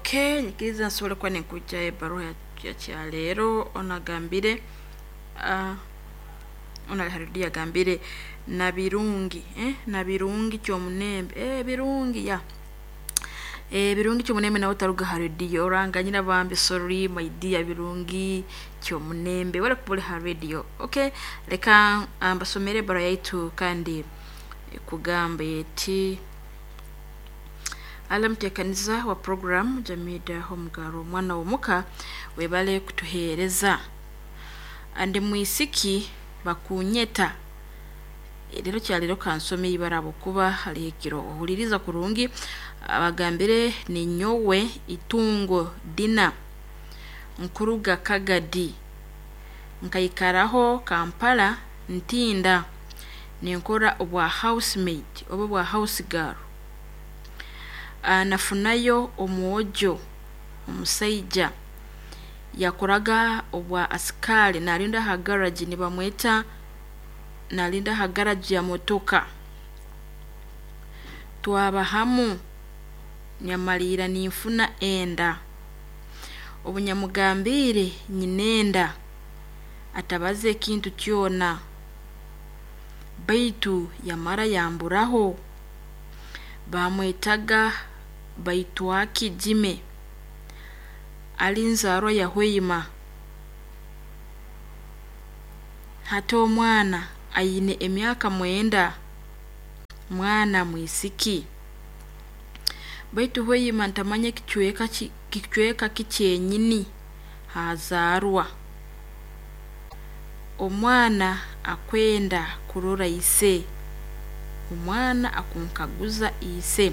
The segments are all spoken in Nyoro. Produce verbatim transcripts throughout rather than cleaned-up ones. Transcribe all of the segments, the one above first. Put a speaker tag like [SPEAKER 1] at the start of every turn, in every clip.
[SPEAKER 1] Okay, nyikiriza nsobole kuba ninkujja ebbaruha ya kyaleero. Ono agambire uh, ono ali agambire Nabirungi, eh? Nabirungi Kyomunembe, eh, Birungi ya eh, Birungi Kyomunembe nawe taruga ha radio. Oranganyira bambi, sorry my dear Birungi Kyomunembe, wala kubuli ha radio. Okay, leka mbasomere ebbaruha yaitu kandi kugamba eti: ala muteekaniza wa program Jamida Omugaro, omwana w'omuka, webale kutuheereza. Andi mwisiki bakunyeta rero kyalero kansome ibara habwokuba haliho ekiro ohuliriza kurungi. Abagambire ninyowe Itungo Dina, nkuruga Kagadi, nkaikaraho Kampala Ntinda, ninkora obwa housemaid oba obwa house girl. Uh, nafunayo omwojo omusaija yakoraga obwa asikari, nalinda ha garage, nibamweta nalinda ha garage ya motoka. Twaba hamu, nyamalira ninfuna enda. Obu nyamugambiire nyinenda, atabaza ekintu kyona, baitu yamara yamburaho. Bamwetaga Baitwaki Jime, ali nzaarwa ya Hoima. Hati omwana aine emyaka mwenda, mwana mwisiki. Baitu Hoima ntamanya ekicweka kicweka ki kyenyini hazaarwa. Omwana akwenda kurora ise, omwana akunkaguza ise.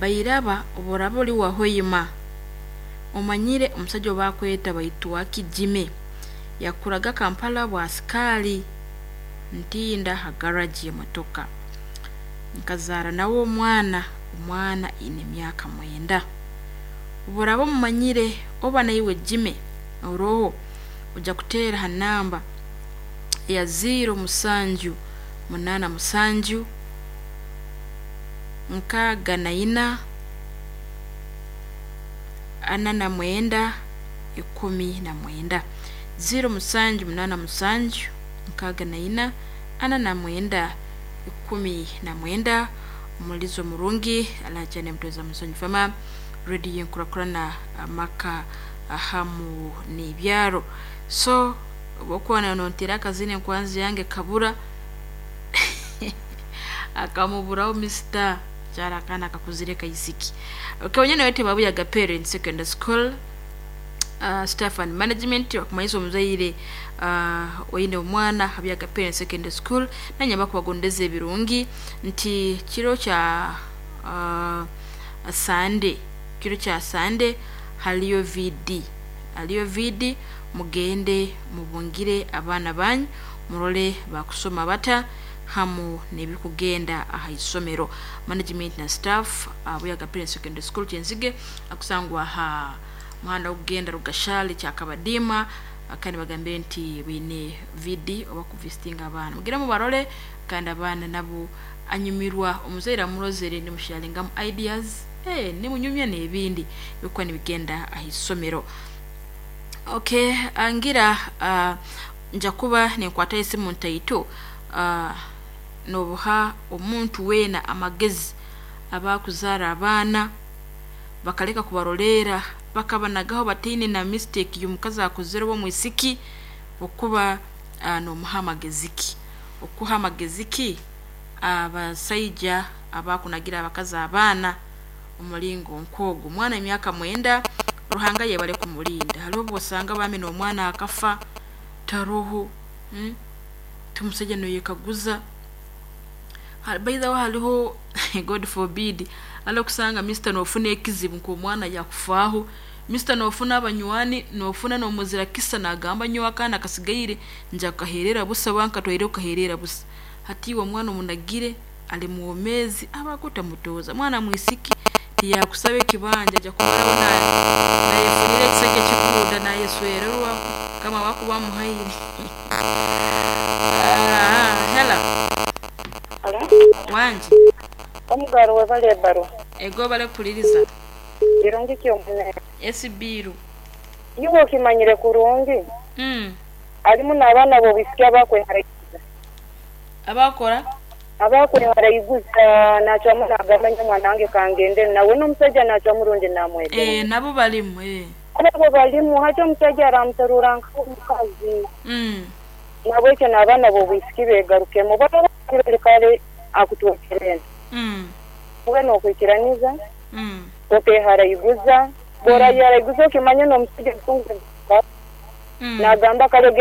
[SPEAKER 1] Bairaba obu oli wa Hoima omanyire omusaija ou bakweta Baitwaki Jime, yakuraga Kampala bwa asikari Ntinda ha garage y'emotoka. Nkazaara nawe omwana, omwana aine emyaka mwenda. Obu oraaba omumanyire oba naiwe Jime oroho, ojja kuteera ha namba eya ziro musanju munaana musanju nkaaga na ina ana na mwenda ikumi na mwenda, ziro musanju munaana musanju nkaaga na ina ana na mwenda ikumi na mwenda. Omulizo murungi alajane mutweza musonyi fama radio enkurakurana amaka hamu n'ebyaro. So obwokuba nontera akazina enkwanzi yange kabura akamuburaho Mister kyara akaana kakuzire kaisiki. Okay, wanyana wete Babuyaga Parents Secondary School uh, staff and management wakumanyisa omuzaire uh, oine omwana Habuyaga Parents Secondary School, nanyamba kubagondeza ebirungi nti kiro kya uh, Sunday, kiro kya Sunday haliyo V D, haliyo V D. Mugende mubungire abaana banyu, murole bakusoma bata hamu n'ebikugenda aha isomero. Management na staff Buyaga Parents Secondary School Kyenzige, akusangwa ha muhanda ogugenda Rugashali Kyakabadima, kandi bagambire nti bine V D oba kuvisitinga abaana, mugire mubarole kandi abaana nabo anyumirwa omuzaire amurozere, nimusharingamu ideas, eh, nimunyumya n'ebindi bikuba nibigenda aha isomero. Okay, angira uh, nja kuba ninkwata esimu ntaito. uh, nobuha omuntu weena amagezi abakuzaara abaana bakaleka kubaroleera bakabanagaho bataine na mistake y'omukazi akozere oba omwisiki, okuba uh, nomuha amagezi ki, okuha amagezi ki abasaija abakunagira abakazi abaana omulingo nk'ogwo. Omwana emyaka mwenda, Ruhanga yebale kumulinda. Haliho obwosanga bambi n'omwana akafa taroho, hmm? Tumusaija noyekaguza. By the way, haliho, God forbid, haliho okusanga mister nofuna ekizibu nk'omwana yakufaaho, mister nofuna abanywani, nofuna nomuzira kisa nagamba nyowe akaana kasigaire nja kukaherera busa, wankatwaire kukaherera busa. Hati iwe omwana omunagire ali mwomeezi, abakutamutooza mwana mwisiki tiyakusaba ekibanja, aja kumaraho nayefunira ekisajja kiguuda nayeswererwa kama wakuba amuhaire. Hello.
[SPEAKER 2] Alo?
[SPEAKER 1] Wangi.
[SPEAKER 2] Omugaro webale ebbarwa.
[SPEAKER 1] Ego, bale kukuliriza.
[SPEAKER 2] Kirungi kyomune.
[SPEAKER 1] Esibiru.
[SPEAKER 2] Iwe okimanyire kurungi.
[SPEAKER 1] Mm.
[SPEAKER 2] Alimu n'abaana b'obwisiki abakweharaiguza.
[SPEAKER 1] Abakora?
[SPEAKER 2] Abakweharaiguza nacwamu nagamba nyo omwana wange kangende nawe n'omusajja nacwamu rundi namwegera.
[SPEAKER 1] Eh, nabo balimu eh.
[SPEAKER 2] Abo balimu hati omusajja aramuterura nk'omukazi.
[SPEAKER 1] Mm.
[SPEAKER 2] Nabwekyo n'abaana b'obwisiki beegarukemu baba kale akutwekere.
[SPEAKER 1] Mm.
[SPEAKER 2] Ube n'okwikiraniza
[SPEAKER 1] Mm.
[SPEAKER 2] okeharaiguza bw'orayeharaiguza okimanya n'omusajja
[SPEAKER 1] Mm.
[SPEAKER 2] nagamba kale.